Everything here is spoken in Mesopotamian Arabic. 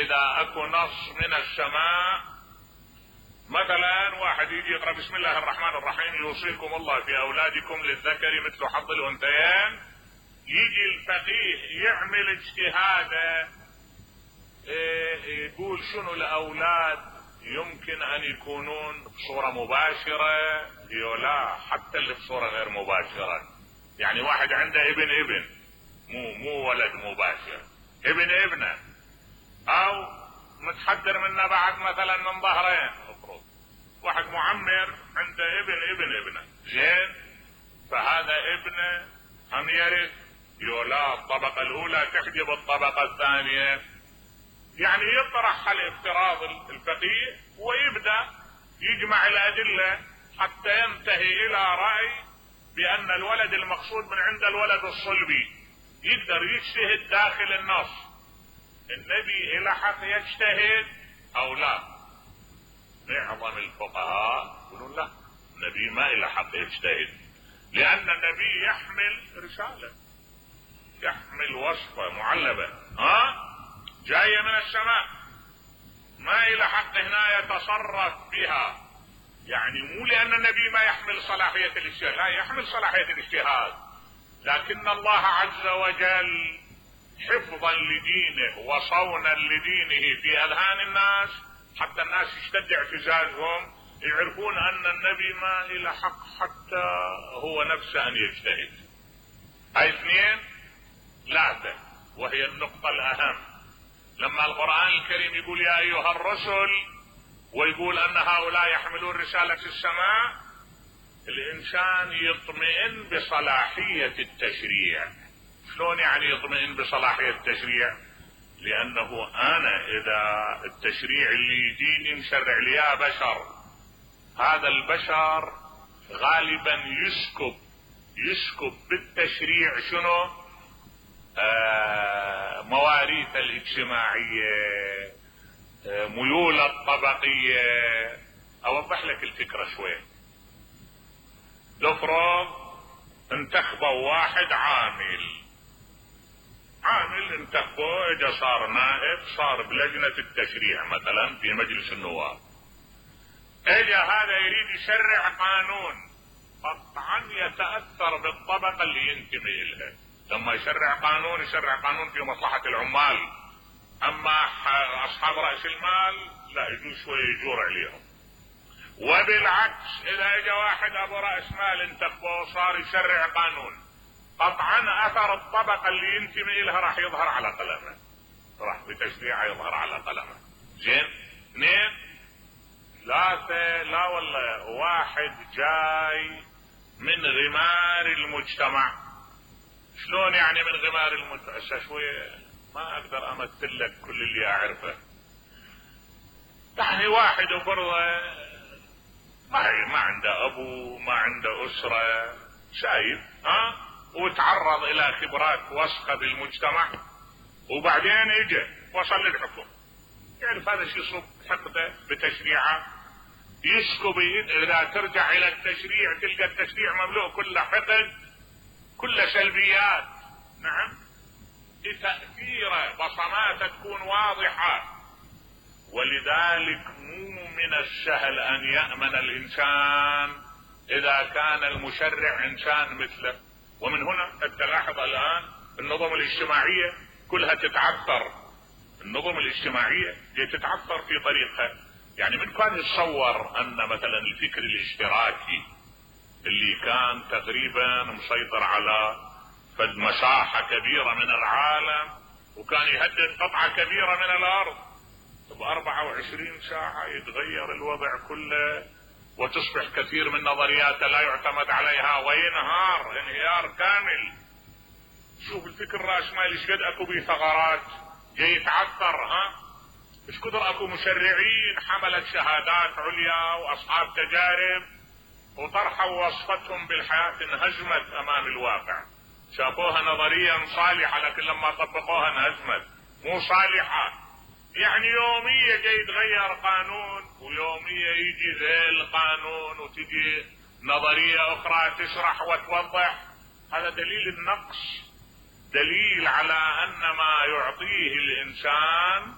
اذا اكو نص من السماء، مثلا واحد يجي يقرأ بسم الله الرحمن الرحيم يوصيكم الله في اولادكم للذكر مثل حظ الانثيين، يجي الفقيه يعمل اجتهاده يقول شنو الاولاد يمكن ان يكونون بصورة مباشرة لا حتى اللي بصورة غير مباشرة. يعني واحد عنده ابن مو ولد مباشر، ابنه او متحدر منه بعد مثلا من ظهرين، افرض واحد معمر عنده ابنه زين، فهذا ابنه هم يرث لا الطبقة الاولى تحجب الطبقة الثانية. يعني يطرح الافتراض الفقيه ويبدأ يجمع الادلة حتى ينتهي الى رأي بان الولد المقصود من عند الولد الصلبي. يقدر يجتهد داخل النص، النبي الى حق يجتهد او لا؟ معظم الفقهاء يقولون لا، النبي ما الى حق يجتهد، لان النبي يحمل رسالة، يحمل وصفة معلبة جاية من السماء، ما الى حق هنا يتصرف بها. يعني مو لان النبي ما يحمل صلاحية الاجتهاد، لا يحمل صلاحية الاجتهاد، لكن الله عز وجل حفظا لدينه وصونا لدينه في اذهان الناس حتى الناس يشتد اعتزازهم، يعرفون ان النبي ما الى حق حتى هو نفسه ان يجتهد. هاي اثنين. ثلاثة وهي النقطة الاهم، لما القرآن الكريم يقول يا ايها الرسل ويقول ان هؤلاء يحملون رسالة السماء، الانسان يطمئن بصلاحية التشريع. شلون يعني يطمئن بصلاحية التشريع؟ لانه انا اذا التشريع اللي يجيني مشرع لي بشر، هذا البشر غالبا يسكب بالتشريع شنو؟ مواريث الاجتماعية، ميول الطبقية. اوضح لك الفكرة شوي. لفرض انتخبوا واحد عامل انتخبوه، اجا صار نائب، صار بلجنة التشريع مثلا في مجلس النواب، اجا هذا يريد يشرع قانون، قطعا يتأثر بالطبقة اللي ينتمي لها. لما يشرع قانون في مصلحة العمال، اما اصحاب رأس المال لا يجوز شوية يجور عليهم. وبالعكس اذا اجا واحد ابو رأس مال انتخبه صار يشرع قانون، قطعا اثر الطبقة اللي ينتمي لها راح يظهر على قلمه، راح بتشريعه يظهر على قلمه. زين. اثنين. ثلاثة. لا والله واحد جاي من غمار المجتمع. شلون يعني من غمار المجتمع؟ شوية ما اقدر امثل لك كل اللي اعرفه. يعني واحد فرضه ما عنده ابو، ما عنده اسرة، شايف وتعرض الى خبرات وسخة بالمجتمع، وبعدين اجى وصل للحكم. يعرف هذا شيء يصب حقده بتشريعه، يسكب. اذا ترجع الى التشريع تلقى التشريع مملوء كله حقد، كله سلبيات. نعم. تأثيره بصماته تكون واضحة. ولذلك مو من السهل ان يأمن الانسان اذا كان المشرع انسان مثله. ومن هنا تلاحظ الان النظم الاجتماعية كلها تتعثر، النظم الاجتماعية تتعثر في طريقها. يعني من كان يتصور ان مثلا الفكر الاشتراكي اللي كان تقريبا مسيطر على فد مساحة كبيرة من العالم وكان يهدد قطعة كبيرة من الارض، ب24 ساعة يتغير الوضع كله وتصبح كثير من نظرياته لا يعتمد عليها وينهار انهيار كامل. شوف الفكر الرأسمالي ايش قد اكو بيه ثغرات، جاي يتعثر. ايش كثر اكو مشرعين حملت شهادات عليا واصحاب تجارب وطرحوا وصفتهم بالحياة انهزمت امام الواقع. شافوها نظريا صالحة لكن لما طبقوها انهزمت، مو صالحة. يعني يومية جاي يتغير قانون ويومية يجي ذيل القانون وتجي نظرية اخرى تشرح وتوضح. هذا دليل النقص، دليل على ان ما يعطيه الانسان